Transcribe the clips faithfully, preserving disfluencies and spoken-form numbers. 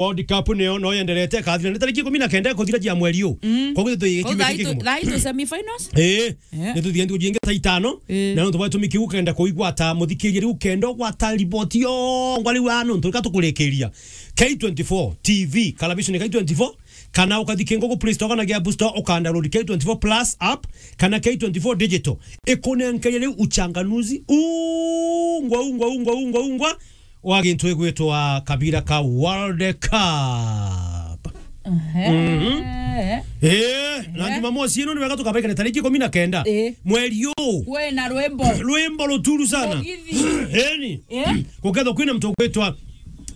World Cup nio no yenderete, ikathira ni tariki ikumi na kenda ikuthira cia mweri uu. Mm. Koguo tu Koguo thaa itu, thaa itu semifinals? Eh. Eh. Ni tuthiendu jingi thaa itano. Eh. Na nontu bwa gitumi kiu ukenda kuigwata muthikiria riu, ukenda ugwata riboti yongwa riu aa nontu rika tukurikiria. K twenty-four T V, Kalabisho ni K twenty-four, kana ukathi kingo ku Play Store kana App Store, uka download K twenty-four Plus app, kana K twenty-four Digital. Ikunenkeria riu uchanganuzi ungwa, ungwa, ungwa, ungwa, ungwa wa gintu igwitwa kabira ka World Cup. Ehe. Mhm. Eh, na Ehe. Jumamosi ino ni wega tukabaikane tariki ikumi na kenda. Eh. Mweri uu. Kwina rwimbo. Rwimbo ruturu sana. Mugithi. Eni. Eh? Gukethwa kwina muntu ugwitwa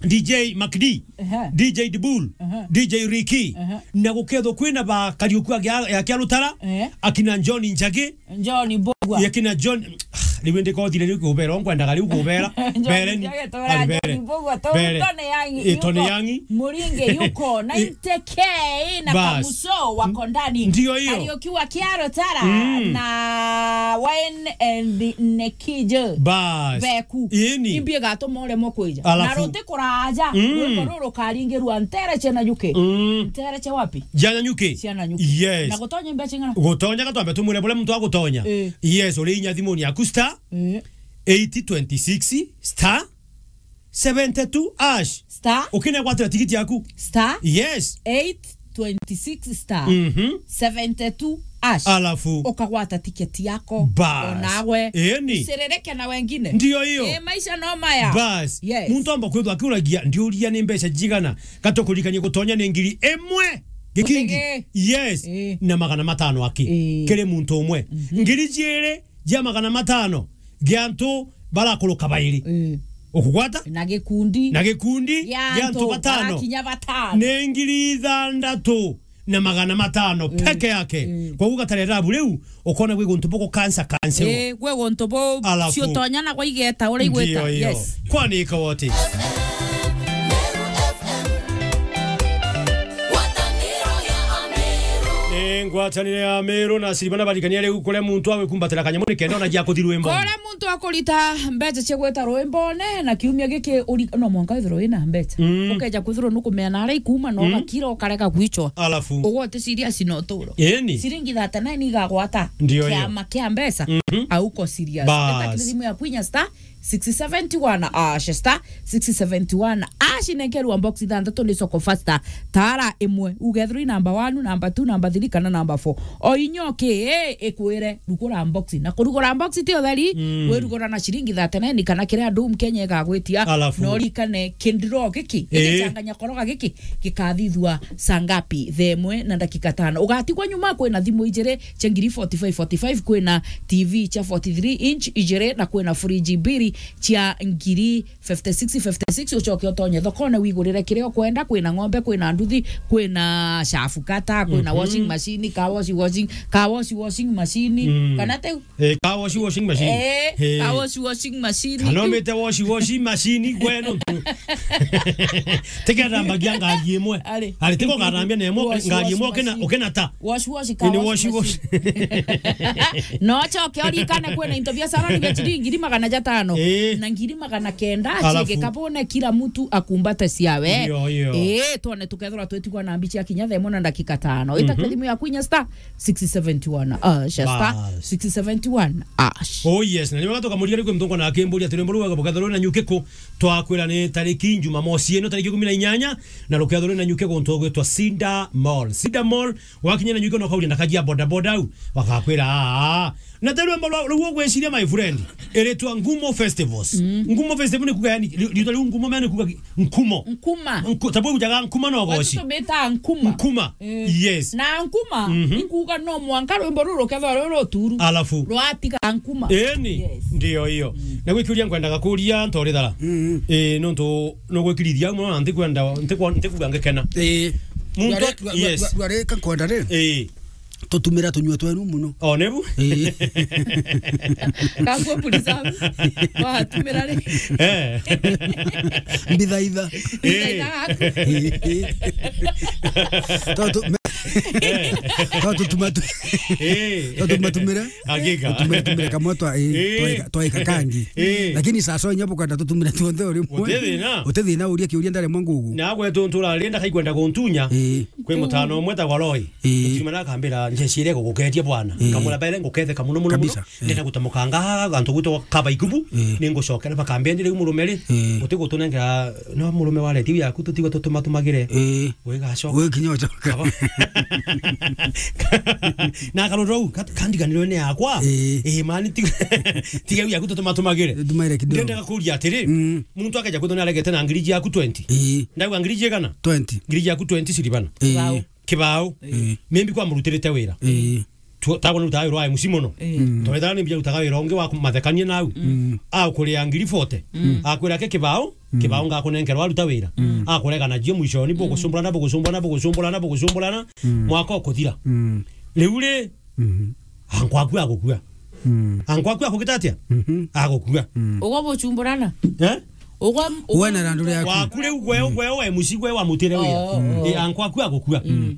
D J Mac D, Ehe. D J Dibul, Ehe. D J Ricky, Ehe. Na gukethwa kwina ba Kariuki ya, ya Kiarutara, Eh. akina John Njagi, John Mbugua. Yakina John, ah, riu ndikothire riu kubera, nkwendaga riu kubera. John Bereni, Njagi, twera ali John bere. Mbugua, tu Bere. Tony Young, Eh, Tony yuko. Young. Muringe yuko, Eh, ninety K na Bas. Kamuso wako ndani. Ndio hiyo. Kariuki wa Kiarutara Mm. na Wayne and Nikijo. Bas. Beku. Ini. Imbi gatuma uremwe kwija. Alafu. Na ruti kuraja, Mm. rwimbo ruru rukaringirwa Ntereche na Nyuki. Mm. Ntereche wapi? Jana Nyuki. Ciana Nyuki. Yes. Na gutonya imbeca ing'ana? Gutonya gatwambe tumwire buria muntu agutonya. Eh. Yes, uri inya thimuni yaku star Eh. eight twenty-six star seventy-two hash. Star. Ukine gwatira tikiti yaku. Star. Yes. eight twenty-six star Mhm. seventy-two hash. Alafu. Ukagwata tiketi yako. Bas. Onawe. Eni. Usiririke na wengine. Ndio hiyo. Eh, maisha no maya. Bas. Yes. Muntu amba kwithwa akiuragia, ndiuria ni mbeca jigana. Gatukuririkanie gutonya ni ngiri imwe gikingi. Utege. Yes. Eh. Na magana matano aki. Eh. Kiri muntu umwe. Mhm. Ngiri jiiri jia magana matano gia antu barakuruka bairi. Eh. Ukugwata? Na gikundi. Na gikundi Gia gia antu antu batano. Barakinya batano. Ni ngiri ithandatu na magana matano Eh. peke yake. Eh. Koguo gatarera bu riu, ukona gwi guntu bugu kansa kansa. Eh, gwi guntu bu Alafu. Ciutonya na gwa igeta uria igweta. Ndio hiyo. Yes. Kwani ikawa ati? Ngwataniro ya Ameru. Ni ngwataniro ya Ameru na Siribana barikania riu kuria muntu awe kumbatira kanyamuni kenda ona gia kuthi rwimbo. Kuria muntu akurita mbeca cia gwita rwimbone na kiumia giki uri-, no mwanka withirwe wina mbeca. Mm. Ukeja kwithirwa nukumea na aria ikuma no Mm. gakira ukarega gwicwa. Alafu. Ugote serious no turo. Eni. Ciringi thirty-nine igagwata Ndio hiyo. kiama kia mbeca. Mhm. Auko serious. Bas. Eta kiri thimu ya kwinya star six seventy-one hash, star six seventy-one hash, nenkerwa box ithanthatu ni soko faster. Tara imwe, ugethirwa i number one, number two, number three kana number four. O inyo ki, eh, ikwire, rugura box. Na kurugura box ti utheri, Mm. wirugura na ciringi thirty-nine kana kiria andu Kenya igagwitia. Alafu. No rikane kindiro giki, Eh. igichanganya koroga giki, gikathithua saa ngapi? Thaa imwe na ndagika tano. Ugatigwa nyuma, kwina thimu ijiri cia ngiri forty-five forty-five, kwina T V cia forty-three inch ijiri, na kwina fridge mbiri cia ngiri fifty-six fifty-six, ucoke utonye thokone wigurire kiria ukwenda. Kwina ng'ombe, kwina nduthi, kwina shafu kata, kwina Mhm. washing machine, car wash, washing, car wash, washing machine, Mm. kana teu? Eh, car wash, washing machine. Eh, Eh. car wash, washing machine. Kana umite wash, washing machine, gwe no tu. Tikenda mbagia ngari imwe. Ari. Ari, tiko ngarambia na imwe, Wash, ngari wash imwe ukina, machine. Ukina ta. Wash, wash, car Ini wash, wash, wash. machine. No coke urikane kwina into bia salon bia ciringi ngiri magana jatano. Eh. Na ngiri magana kenda, Alafu. Ciege kabone kila mtu akumbate ciawe. Iyo, iyo. Eh, twone tukethirwa twetigwa na mbichi ya kinya thaa imwe na ndagika tano. Ita Mhm. kiri thimu ya kwinya star six seventy-one hash, star Bas. six seventy-one hash. Oh yes, na ni wega tukamuria riu mthongo na akimburia turi mburuga bukethirwa na nyuki ku, twakwira ni tariki Jumamosi ino tariki ikumi na inyanya, na rukethirwa na nyuki guntu gwitwa Cinda Mall. Cinda Mall, wakinya na nyuki no kauria na kajia boda boda au, wakakwira, "Aa." Na te rwimbo rwa, rwa gwiciria, my friend, iritwa Ngumo Festivals. Mm. Ngumo Festival ni kuga, yani, ri-, riitwa riu Ngumo, yani kuga ki-, nkumo. Nkuma. Nku-, ta bwe ujaga nkuma no Watu goci. Tumita nkuma. Nkuma. Eh. Yes. Na nkuma, Mhm. ikuga no mwanka rwimbo ruru rukethwa rwi ruturu. Alafu. Rwatiga nkuma. Eni. Yes. Ndio hiyo. Mm. Na gwikiuria nkwendaga kuria ntorithara. Mm. Eh, nontu no gwikirithia muno na ntikwenda, ntikwa-, ntikuga ngikena. Eh. Muntu, Dware-, dwa-, yes. Dwa-, dwarika nkwenda ri? Eh. Tutumira tunyua twenu muno. O, nebu? Ii. Kangua puri zangu. Watumira ri? Eh. Mbithaitha. Mbithaitha Eh. gaku. Tontu me-, Eh. To tutuma tu-, Eh. to tumatumire. Hakika. Tutumire, tumire kamwe twa, eh, Eh. twaika, twaika kangi. Eh. Lakini sasa inya bukanda tutumire tuonthe o rimwe. Uti thina. Uti thina, uria kiuria ndare mwa ngugu. Na gwetu nturarenda kaikwenda kuntunya. Eh. Kwi mutano umwe ta Waroi. Eh. Tukiuma na akambira, "Njecire guguketia bwana." Eh. Kamura bere nguketheka muno, muno, muno. Kabisa. Eh. Ndenda gutamukanga antu gwitwa kaba ikubu. Eh. Ningucokera bakambia, "Ndi riu murume ri, Eh. uti gutunengera no murume wa redio yaku tutigwe tutumatumagire." Eh. Wigacoka. Wikinya ucoka. Kaba. Na akarora u, kat-, kandiganirwe ni yakwa. Eh. Eh, mani, tiga, tiga u yaku tutumatumagire. Tumaire kidogo. Ndendaga kuria atiri, Mm. muntu akeja kwithwa ni aregete na ngiri yaku twenty. Eh. Ndauga ngiri igana? Twenty. Ngiri yaku twenty ciribana. Eh. Wow. Kibao. Eh. Maybe kwa murutirite wira. Eh. Tu-, tagwa ni rutaga wira wa M C mono. Eh. Mm. Tonetha ni mbia rutaga wira ungi wa kumathekania nau. Mm. Akuria ngiri forty. Mm. Akwira ke kibao, Mm. kibao ngakunenkerwa aruta wira. Mm. Akurega na jio mwishoni, Mm. bugucumburana, bugucumburana, bugucumburana, bugucumburana. Mm. Mwaka ukuthira. Mm. Riu ri, Mhm. ankwaku agukua. Mm. Ankwaku akugita atia? Mhm. Agukua. Mm. Ugwa bucumburana? Eh? Ugwa, Uwe na randu riaku. Waku riu gwe, Mm. gwe wa M C gwe wa mutire wira. Oh, oh. Eh, ankwaku agukua. Mm.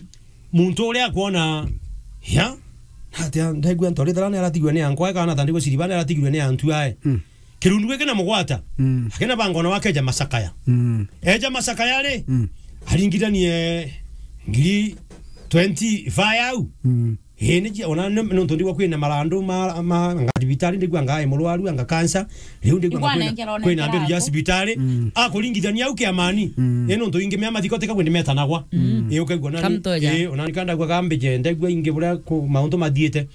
Muntu uria akwona, ya, atia, ndaigua ntori thara ni aratigwe ni ankwa, kana ta ndigwe ciriba ni aratigirwe ni antu ae. Mm. Kirundu giki na mugwata. Mm. Akina bangona wakeja macakaya. Mm. Eja macakaya ri, Mm. aringithanie ngiri twenty-five au. Mm. Ii, ni jia, ona ni, nontu ndigwa kwina marandu ma, ma, anga thibitari, ndigwa anga ai murwaru, anga cancer. Riu ndigwa Igwa anga kwina, nengerwa kwina nengerwa mberu ja antu. Cibitari. Mm. Akuringithania au kiamani. Mm. Ii, nontu ingi mea mathiko tika kwendi metanagwa. Mm. Ii, ukaigua nani? Kamtoja. Ii, ona ni kandagwa kambe je, ndaigua ingi buria ku, mauntu mathiite.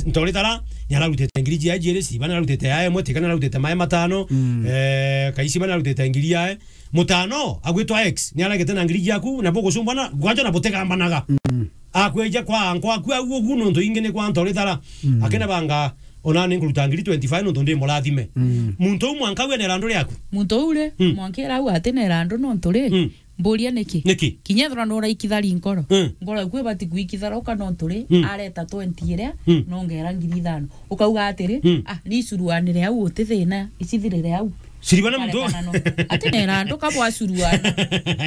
Ntoritara, ni ararutite ngiri jia jiri, ciba ni ararutite ya emwe, tika ni ararutite mae matano, Mm. eh, kaiciba ni ararutite ngiri yae. Mutano, agwitwa X, ni aregete na ngiri jiaku, na bugucumbana, gwanja na butigambanaga. Mm. Akweja kwa ankwa aku au ugu nontu ingi ni kwa ntoritara. Mm. Akina banga, ona ni nkuruta ngiri twenty-five nontu ndi murathime. Mm. Muntu u mwanka we ni randu riaku. Muntu u ri, Mm. mwanka ira au ati ni randu nontu ri, Mm. mburia niki? Niki? Kinya ethirwa nuraikithari nkoro. Mm. Nkoro yaku ibati kwikitharuka nontu ri, Mm. areta twenty iria, Mm. nongera ngiri ithano. Ukauga atiri, Mm. "Ah, ni curuanire au uti thina, icithirire au." Ciribana muntu. Karekana no. Ati ni randu kabwa curuana.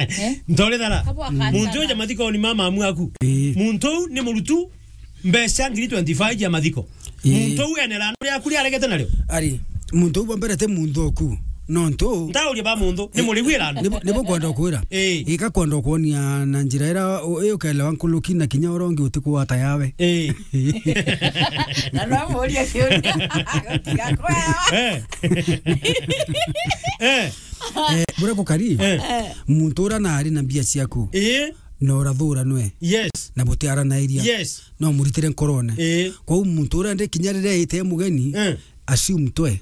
Eh? Ntorithara. Kabwa kancana. Muntu uja mathikoni ma mamu aku. Ii. Muntu u ni murutu mbeca ngiri twenty-five ya mathiko. Ii. Muntu u ene randu riaku ria aregete nario. Ari, muntu u bwa mbere ti muntu oku. Nontu. Ntauria ba muntu, ni murigwi randu. Nibo, nibo kwenda kwira. Ii. Ika kwenda kwonia na njira ira u-, ii ukelewa nkuruki na kinya urongi utikwata yawe. Ii. Na no muria kiuria. Gutiga kwera. Eh. Eh. Eh, bure gukari. Eh. Muntu ura nari na mbia ciaku. Eh. Na urathura nwe. Yes. Na butiaranairia. Yes. No muritire nkorone. Eh. Kwou muntu ura ndi kinya riria ite mugeni, Eh. assume twe.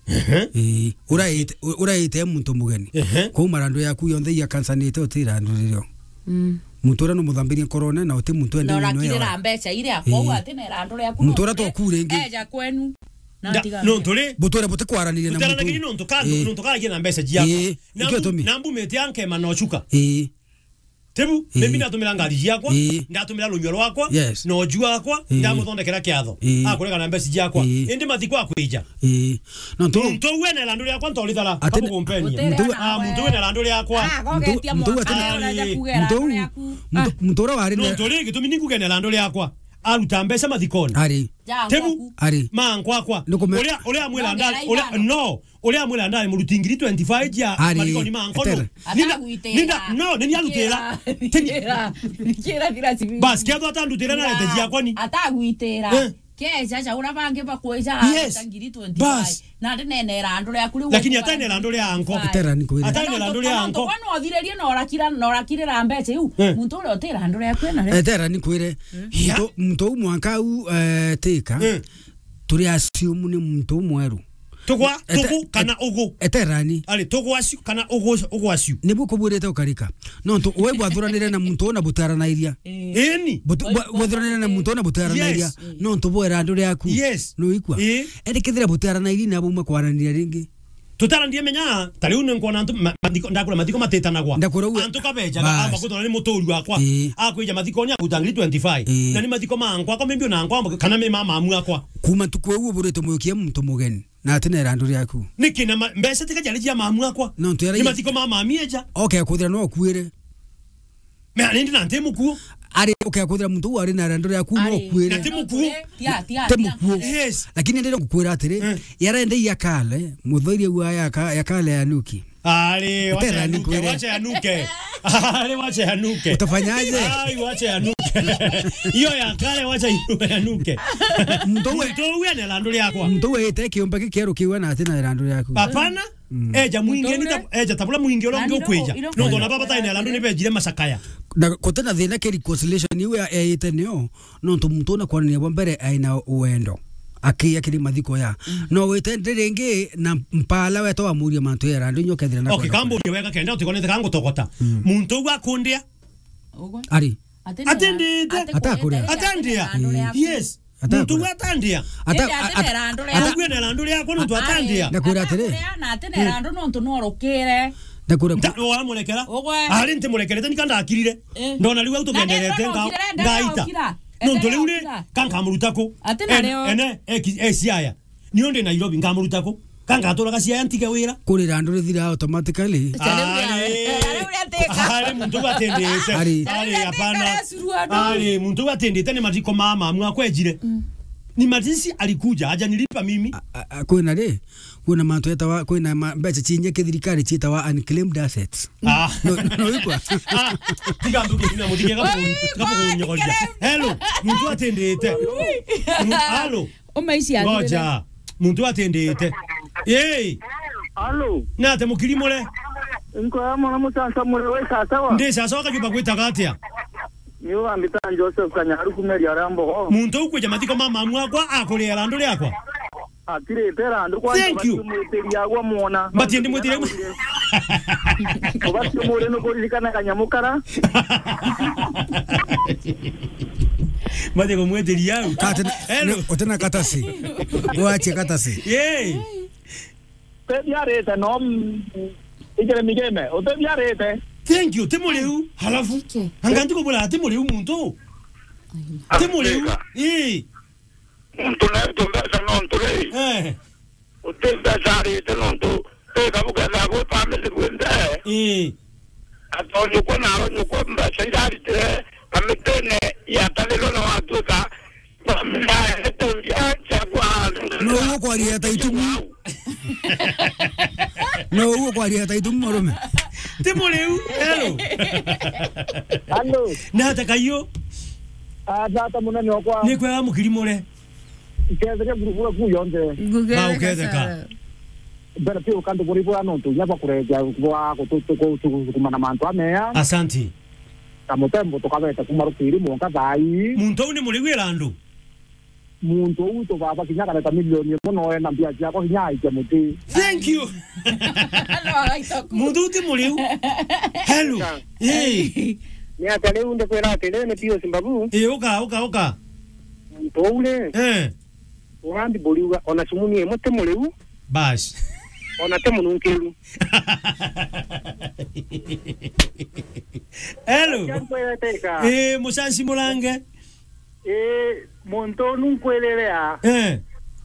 Ehe. Eh, uraite, uraite muntu mugeni. Ehe. Kwou marandu yaku yonthe iya kansanite utira ndu ririo. Mm. Muntu ura numuthambirie nkorone na uti muntu ende Na wino urakirira yawe. Mbeca iria, Eh. kwou ati na irandu riaku Muntu ura no, twaku ringi. Eja kwenu. Na Nda-, tiga no nturi. Butwire butikwaraniria na muntu. Tutaranagiri nontu ka, Eh. nontu karagia na mbeca ciakwa. Eh, Na ikio mbu-, tumi. Na mbumite ankema na ucuka. Eh. Tibu, Eh. mimi ndatumira ngari ciakwa, Eh. ndatumira runyua rwakwa, Yes. na uju wakwa, Eh. ndamuthondekera kiatho. Eh. Akurega na mbeca ciakwa. Eh. Indi mathiko akwija. Eh. No ntu Muntu uwe na irandu riakwa ntorithara, Ati kabu kumpenia. Muntu uwe Ah, muntu uwe na irandu riakwa. Ah, gogetia Muntu-, muntu mwanka ati-, uria ureja kuga muntu irandu u-, riaku. Muntu-, Ah. muntu uria wari No na nturi gitumi ni kuge na irandu riakwa. Aruta mbeca mathikoni. Ari. Ja Tibu. Ngwaku. Ari. Ma nkwakwa. Nukume- Uria, uria mwira No, ndari, nera uria, ibana. no. Uria mwira ndari muruti ngiri twenty-five ya Ari. mathikoni ma nkono. Etera. Ninda, Atagwitira. ninda, no, nini arutira. Kira, kira, kira thira cibi. Bas, kethwa atandutira na rete ciakwa ni. Atagwitira. Eh. Keja ja ura bangi bakwija Yes. arita ngiri twenty-five. Bas. Na ndi nene irandu riaku riu Lakini ukwara atene irandu ria anko. Etera ni kwire. Atene irandu ria anko. Kana uthiririe na urakira, na urakirira mbeca iu. Eh. Muntu uria uti irandu riaku ena ri. Etera ni kwire. Ya. Muntu, muntu u mwanka u, eh, tika. Eh. Turi assume ni muntu umweru. Tugwa, Ete-, tugu, kana et-, ugu. Eterani. Ari, tugwa aciu, kana ugu, ugwa aciu. Nibu kubwirite ukarika. Nontu we bwathuranire na muntu una butaranairia. Eh. Ini. Butu-, bwa-, bwathuranire na muntu una butaranairia. Yes. Nontu bwera andu riaku. Yes. Nuikwa? Eh. Ende kethira butaranairia na buma kwaraniria ringi. Tutarandie menya, ta riu ni nkwona antu ma-, mathiko, ndakura mathiko matitanagwa. Ndakura uwe. Antu kabejaga, Bas. amba kutona ni muturi wakwa. Ii. Akwija mathikoni akuta ngiri twenty-five. Ii. Na ni mathiko ma ankwa, akwa maybe ona ankwa, kana me ma mamu akwa. Kuma ntuku iu uburite muikia muntu mugeni, na ati na irandu riaku. Niki na ma-, mbeca tika jari cia mamu akwa? No, ntu yara Ni i- mathiko ma mami eja. Okay, kuthira no okuire. Me arindi na nti mukuo. ari, ukeya kwithira muntu uu ari na irandu riaku, no Ari. ukuire. Na ti mukuu. Tia, tia, Ti tia. mukuu. Yes. Lakini ndire gukwira atiri, Eh. yarende ya kale, muthoirie wa ya ka-, ya kale ya Nuki. Ari, wacha Tena yanuke, nikwire. wacha yanuke. Ari, wacha yanuke. Utafanyaje? Ai, wacha yanuke. Hiyo ya kale, wacha yanuke. Muntu uwe Muntu uwe ena irandu riakwa. Muntu uwe ite kiumbe gikieru kiwe na atina irandu riaku. Hapana. Mm. Eja mwingi, Muntu ni uwe ta-, eja tabula mwingi uria Nani ungi ukwija. ndo-, ndo No, ndo na kwira. baba taina irandu ni bejire macakaya. Na kutina thina ki reconciliation iwe ya, ya ite nio. Nontu muntu una kwanania bwa mbere aina wendo. Akiya kiri mathiko ya. Mm. No wite ndi ringi na mpala weta wamuria mantu ya irandu inyo kethira na Okay, kwenda kamburia wega kenda utikonete kangutogota. Mm. Muntu ugu akundia. Ugu. Ari. Atendete. Atendete. Atakure. Atendia. Yes. Atakure. Muntu ugu atendia. Ata-, Indi ata-, atene irandu ata- riakwa. Ugu ena irandu riakwa nontu atendia. Ndakwira atiri. Atendia na atene irandu nontu norukire. Ndakwira ku- Nta-, wamurekera? Ugwe. Ari ntimurekerete nika ndakirire. Eh. Ndona riu au tugenderete nga-, ngaita. Nontu riu ri, kankamuruta ku? Ati na ene, ene, eki-, e Siaya. Niu ndi Nairobi, ngamuruta ku? Kangaturaga Siaya ntige wira? Kuri irandu rithira automatically. Ari. Ari muntu uyu atindite. Ari. Ari, hapana. Ari, muntu uyu atindite ni matiko ma mamu akwejire. Mm. Ni matisi alikuja, hajanilipa mimi. A, a, a, kwina ri? Kwina mantu etawa, kwina ma-, mbeca ciinye kithirikari cietawa unclaimed assets. Ah. No, no, ikwa. Ah, tiga nduge ina muthige gabu-, gabugunyogoria. Hello, muntu atindite. Mu-, hello. Umaici athire. Ngoja. Muntu atindite. Hey. Hello. Nate mukirimure. Nko ya mwana mucanca mure we sasawa. Ndi sasawa kajuba gwitaga atia? Niu ambita Joseph Kanyaru kumeria rambo. Muntu ukwija mathiko ma mamu akwa akuria irandu riakwa. Atirite irandu kwanza. Thank you. Bati mwitiria agwa mwona. Bati ndi mwitiria agwa. Ubati mwire nukuririkana kanyamu kara. Bati kumwitiria au. Kati na, hello. Utena katasi. Wache katasi. Yay. Tebiarite no, mm, ijere migeme. Utebiarite. Thank you. Ti muriu. Halafu. Anga ndiko bula ti muriu muntu. Ti muriu. Ii. Muntu naitwe mbeca nontu ri? Eh. Uti mbeca arite nontu tika bukethira bwi family bwinthe. Eh. Atonyukwa na aronyukwa mbeca iria aritire kamitine ya Talilo na watuika family ya Eteria chakwa. No uguo kwaria ta itumu. No uguo kwaria ta itumu murume. Ti muriu. Hello. Hello. Nata kayo. Ah, tata munene wakwa. Ni kwega mukirimure. Iketheke ngurubu ku yonthe. Ngugere. Ba uketheka. Mbere pia ukantu buri bwa nontu nya bakureja bwa kutu-, kutu-, kutukumana mantu ameya. Asanti. Na mutembo tukabeta kuma rukiri mwanka thaa ii. Muntu uu ni muriu irandu? Muntu uu tubaba kinya kareta milioni imwe no ena mbia ciakwa kinya aikia muti. Thank you. No, agaita ku. Muntu uu ti muriu. Hello. Ii. Ni atia riu ndikwira ati riu ni Pius Mbabu? Ii, uka, uka, uka. Muntu uu ri? Eh. Ugambi buriuga, ona cumuni imwe ti muriu. Bas. Ona ti mununkiru. Hello. Atia nkweteka. Ii, mucanci murange. Ii, muntu unu nkwirire a. Eh.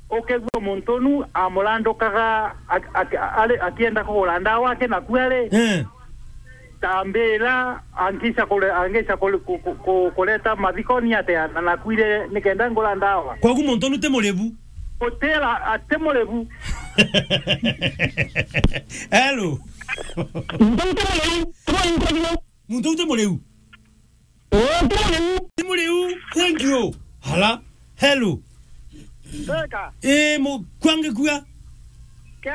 Ukegua muntu unu amurandukaga ak-, ak-, ari, akienda kugura ndawa ake naku ari. Eh. Tambira, angisha kure-, angisha kure-, ku-, ku-, ku-, kureta mathikoni atia na nakuire nikenda ngura ndawa. Kwagu muntu unu ti muribu? Utira, ati muribu. Hello. Muntu uu ti muriu, ti muriu. Muntu uu ti muriu? Uu ti muriu. Ti muriu. Thank you. Hala. Hello. Teka. Eh, mu-, kwange kua. Ke,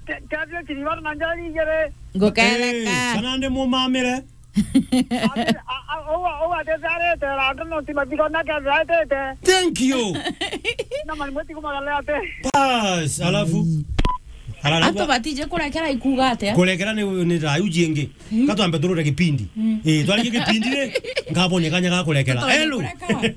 ke, ke, ke, tiri bana na njari igere. Ngukereka. Eh, kana ndi mumamire. Ati, a, a, uwa, uwa, tetarete, randu no ti matiko na ke, tetarete. Thank you. Na mani mweti kumagala ate. Bas, alafu. Alafu. Antu batije kurekera ikuga atia? Kurekera ni, ni rayu jingi. Mm. Katwambe turure gipindi. Mm. Eh, twarikie gipindi ri, ngabone kanya ga kurekera. Hello. Kureka.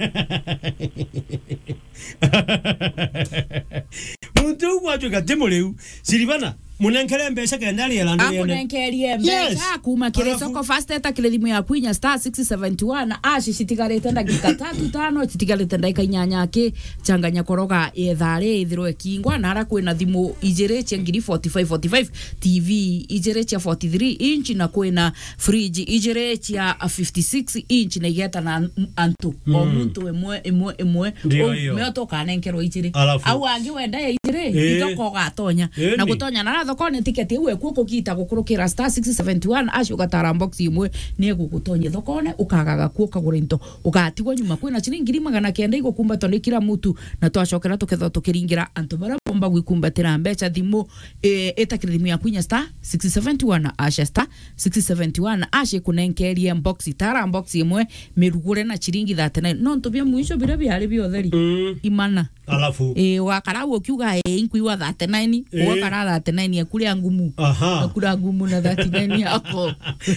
Muntu uu gwatuika ti muriu. Silvana, Munenkere mbeca kenda ariela ndiriene. Akunenkerie mbeca. Yes. Kuma kiri Alafu soko fast, eta kiri thimu yaku inya star six seventy one ash, citigarite ndagika tatu tano, citigarite ndagika inyanya ki, changanya koroga yethari ithirwe kingwa, na ara kwina thimu ijiri cia ngiri forty-five forty-five, T V ijiri cia forty-three inch, na kwina fridge ijiri cia fifty-six inch, na igeta na an-, antu. O Mm. muntu imwe, imwe, imwe. Ndio Ou hiyo. Meo tukanenkerwa ijiri. Alafu. Au angi wenda ya ijiri, Ii. itoko ugatonya. Ii, Na ni. gutonya na thokone tiketi iu eku kugita gukurukira star six seventy one ash, ugatara box imwe, ni egugutonyia thokone, ukagaga ku ukagura into, ugatigwa nyuma. Kwina ciringi ngiri magana kenda igukumbatwa ni kila mutu, na twacokera tukethwa tukiringira antu baria bomba gwikumbatira mbeca thimu, e, itakiri thimu yaku inya star six seventy one ash, star six seventy one ash ikunenkerie box, tara box imwe mirugure na ciringi thirty-nine. Nontu bia mwisho biria biari bia utheri. Mm. Imana. Alafu. Eh, ugakara au ukiuga, eh, inkuigua thirty-nine, Eh. ugakara thirty-nine ya kuria ngumu. Aha. Na kura ngumu na thirty-nine yako.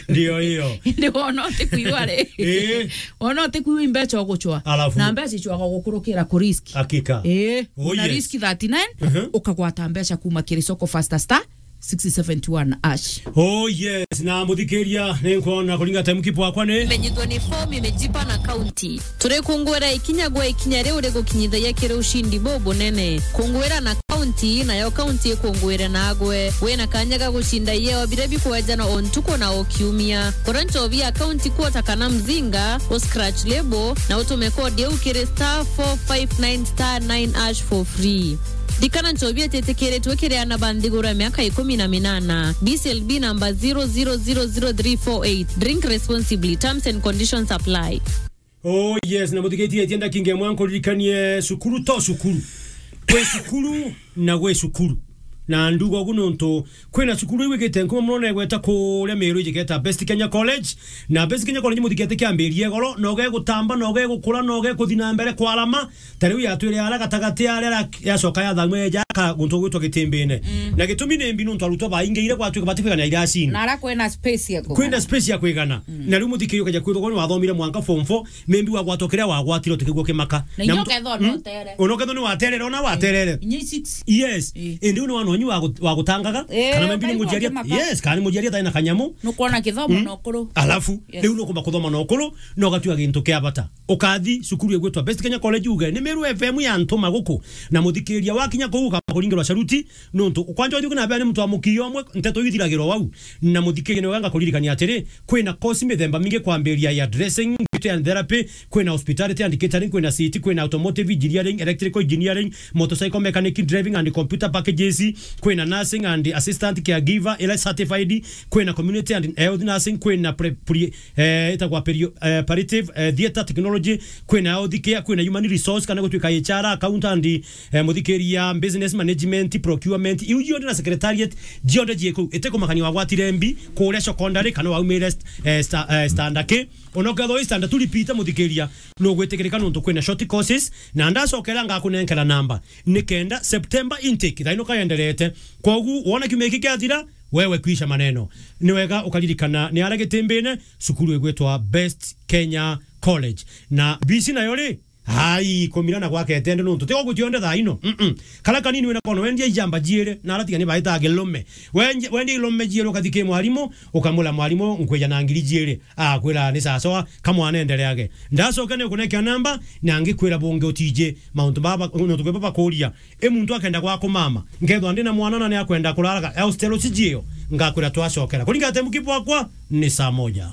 Ndio hiyo. Indi wona utikuigua ri. Eh. Wona utikuigua imbeca ugucwa. Alafu. Na mbeca icwaga gukurukira ku risk. Hakika. Eh, Oh, na yes. risk thirty-nine, Mhm. ukagwata mbeca kuma kiri soko faster star six seventy one ash. Oh yes, na muthikiria, ni nkwona kuringa time kipu wakwa ni. Imenyithwa ni form imejipa na county. Turi kungwira ikinya gwa ikinya riu rigukinyithagia kiri ushindi bubunene. Kungwira na county, nayo county ikungwire nagwe. Wina kanya ga gucinda ieo biria bikwejanwa o ntuku na o kiumia. Kura nchobi ya county quarter kana mzinga, u scratch label, na utume code iu kiri star four five nine star nine ash for free. Ndikana nchobi ititikiritwe kiri ana ba nthiguru ya miaka ikumi na minana. B C L B number zero zero zero zero three four eight. Drink responsibly. Terms and conditions apply. Oh yes, na muthikitie tienda kinge mwanko ririkanie cukuru to cukuru. Kwi cukuru na gwi cukuru. Na nduga ugu nontu kwina cukuru iu igite nkuma muno na igweta kuria Meru ijigeta Best Kenya College. Na Best Kenya College muthikete kiambirie igoro, na ugegutamba, na ugegukura, na ugekuthi na mbere kwarama. Ta riu yatwire ara gatagati aria ra-, yacoka yathamwe yaka guntu gwitwa Gitimbine. Mm. Na gitumi ni mbi nontu arutwo baingiire gwatuika batikwigana iracini. Na ara kwina space ya kugana. Kwina space ya kwigana. Mm. Na riu muthikirie ukeja kwithwa ni wathomire mwanka form four, maybe wagwatwa kiria wagwatire utikigua kimaka. Na Na inya mtu-, ukethwa no mm? utere. Ona ukethwa ni waterere, ona waterere. Inya six. Yes. Eh. Indi u ni wanonyi wa gut-, wa gutangaga. Eh, kana maybe ni ukaigua mujiaria kimaka. Yes, kana ni mujiaria tai na kanyamu. Nukwona kithomo Mm. na ukuru. Alafu, Yes. riu nukumba kuthoma na ukuru, na ugatua gintu kia bata. Ukathi cukuru igwitwa Best Kenya College uge, ni Meru F M ya ntuma guku. Na muthikiria wakinya kuu ukamba kuringirwa sharuti, nontu kwanja uthiuke na bea ni muntu wa mukio umwe, nteto ithiragirwa wau. Na muthikiria ni wega ngakuririkania atiri, kwina course mithemba mingi kwambiria ya dressing, beauty and therapy, kwina hospitality and catering, kwina C T, kwina automotive engineering, electrical engineering, motorcycle mechanic, driving and computer packages, kwina nursing and assistant caregiver, ila certified, kwina community and health nursing, kwina pre-, pre-, eh, itagwa perio-, eh, palliative, eh, theatre technology, kwina health care, kwina human resource, kana gutwika H R, accountant, eh, muthikiria, business management, procurement, iu cionthe na secretariat, cionthe ciiku, itikumakania wagwatire mbi, kuria secondary, kana waumire st-, eh, sta-, eh, standard ki, ona ukethwa wi standard tu repeat muthikiria, nugwitikirika nontu kwina short courses, na ndacokera ngakunenkera namba, nikenda September intake, thaino kayenderete. Kogu, wona kiumia giki kiathira, wewe kwisha maneno. Ni wega ukaririkana ni ara Gitimbine, cukuru igwitwa Best Kenya College. Na B C nayo ri, hai, kumirana gwake tende nontu. Tigo gutionde thaino. Mm-mm. Kara kanini wina kono, wendia ijamba jiiri, na ara tiga ni baita gilume. Wendia, wendia ilume jiiri, ukathi ki mwarimu, ukamwira mwarimu, nkwija na ngiri jiiri. Akwira ni sawa sawa, kamwana endereage. Ndacoke ni kunekea namba, na ngikwira bungi utiji mauntu baba, nontu kwi baba kuria. I muntu akenda gwa kumama, nkethwa ndi na mwana na ni akwenda kurara, hostel cijio, ngakwira twacokera. Kuringa te mukipu wakwa, ni saa moja.